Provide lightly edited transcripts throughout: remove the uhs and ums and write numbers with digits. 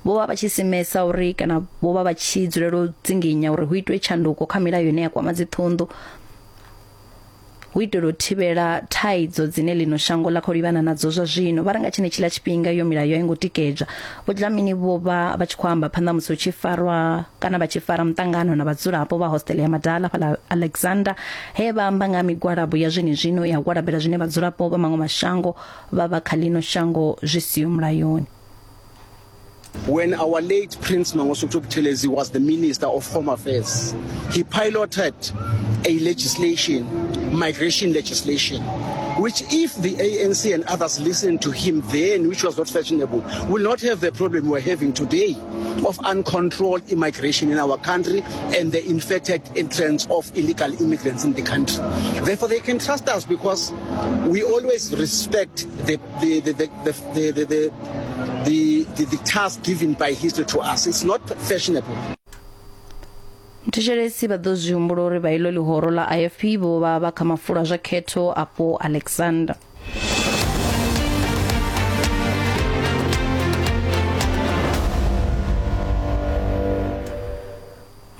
Vho vha vha tshi simesa uri kana vho vha vha tshi dzulela u dzinginya uri hu itwe tshanduko kha milayo ine ya kwama dziṱhunḓu hu itela u thivhela thaidzo dzine ḽino shango ḽa khou livhana nadzo zwa zwino. Vha ri nga tshenetshiḽa tshifhinga iyo milayo a i ngo tikedzwa. Vho Dlamini vho vha vha tshi khou amba phanḓa musi hu tshi farwa kana vha tshi fara muṱangano na vhadzulapo vha hostele ya Madala fhaḽa Alexander he vha amba nga ha migwalabo ya zwenezwino ya u gwalabela zwine vhadzulapo vha maṅwe mashango vha vha kha ḽino shango zwi siho mulayoni. When our late Prince Mangosuthu Buthelezi was the Minister of Home Affairs, he piloted a legislation, migration legislation, which if the ANC and others listened to him then, which was not fashionable, will not have the problem we're having today of uncontrolled immigration in our country and the infected entrance of illegal immigrants in the country. Therefore, they can trust us because we always respect the, the, the, the, the, the, the, the, the, the task given by history to us. It's not fashionable. Thetshelesi vha ḓo zwi humbula uri vha iḽo ḽihoro ḽa IFP vho vha vha kha mafulo a zwa khetho afho Alexander.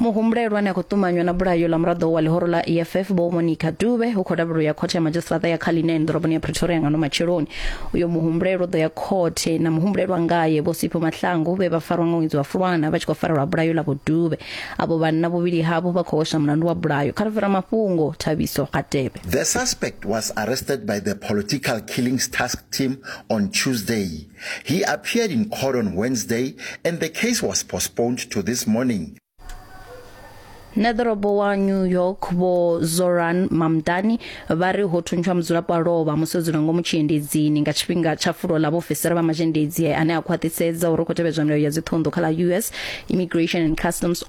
Muhumbulelwa ane a khou ṱumanywa na bulayo ḽa muraḓo wa ḽihoro ḽa EFF Vho Monica Dube hu khou lavhelelwa u ya khothe ya madzhisiṱiraṱa ya Cullinan ḓoroboni ya Pretoria nga ano matsheloni. Uyo muhumbulelwa u ḓo ya khothe na muhumbulelwa ngae Vho Sipho Mahlangu vhe vha farwa nga ṅwedzi wa Fulwana vha tshi khou farelwa bulayo ḽa Vho Dube. Avho vhanna vhuvhili havho vha khou hweswa mulandu wa bulayo. Kha ri fhira mafhungo Thabiso Gatebe. The suspect was arrested by the Political Killings Task Team on Tuesday. He appeared in court on Wednesday and the case was postponed to this morning. Neḓorobo wa New York Vho Zoran Mamdani vha ri ho thuntshwa mudzulapo a lovha musi o dzula ngomu tshiendedzini nga tshifhinga tsha fulo ḽa vhaofisiri vha mazhendedzi ane a khwaṱhisedza uri hu khou tevhedzwa milayo ya dziṱhunḓu kha ḽa US Immigration and Customs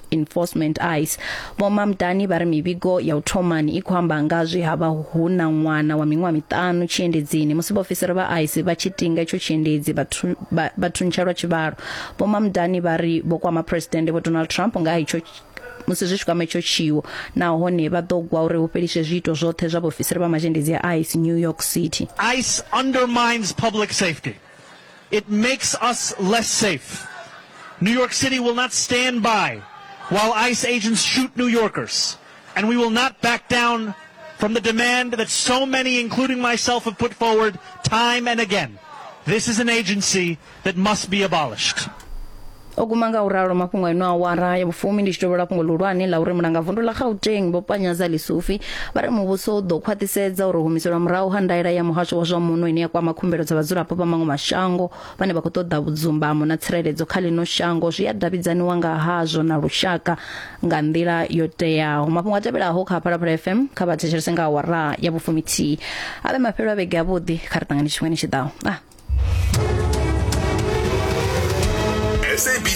Enforcement ICE. Vho Mamdani vha ri mivhigo ya u thomani i khou amba nga zwe ha vha hu na ṅwana wa miṅwaha miṱanu tshiendedzini musi vhaofisiri vha ICE vha tshi tinga itsho tshiendedzi vha thuntsha lwa tshivhalo. Vho Mamdani vha ri vho kwama Phresidennde Vho Donald Trump nga ha itsho musi zwi tshi kwama itsho tshiwo nahone vha ḓo gwa uri hu fheliswe zwiito zwoṱhe zwa vhaofisiri vha mazhendedzi a ICE New York City. ICE undermines public safety. It makes us less safe. New York City will not stand by while ICE agents shoot New Yorkers, and we will not back down from the demand that so many, including myself, have put forward time and again. This is an agency that must be abolished. O guma nga u ralo mafhungo a ino awara ya vhufumi ndi tshi tovhola fhungo ḽihulwane ḽa uri mulangavundu ḽa Gauteng Vho Panyaza Lesufi vha ri muvhuso u ḓo khwaṱhisedza uri humiselwa murahu ha ndaela ya muhasho wa zwa muno ine ya kwama khumbelo dza vhadzulapo vha maṅwe mashango vhane vha khou ṱoḓa vhudzumbamo na tsireledzo kha ḽino shango zwi a davhidzaniwa nga hazwo na lushaka nga nḓila yo teaho. Mafhungo a tevhelaho kha Phalaphala FM kha vha thetshelese nga awara ya vhufumithihi. A vhe mafhelo a vhege avhuḓi kha ri ṱangane tshifhingani tshi ḓaho. Ah. SABC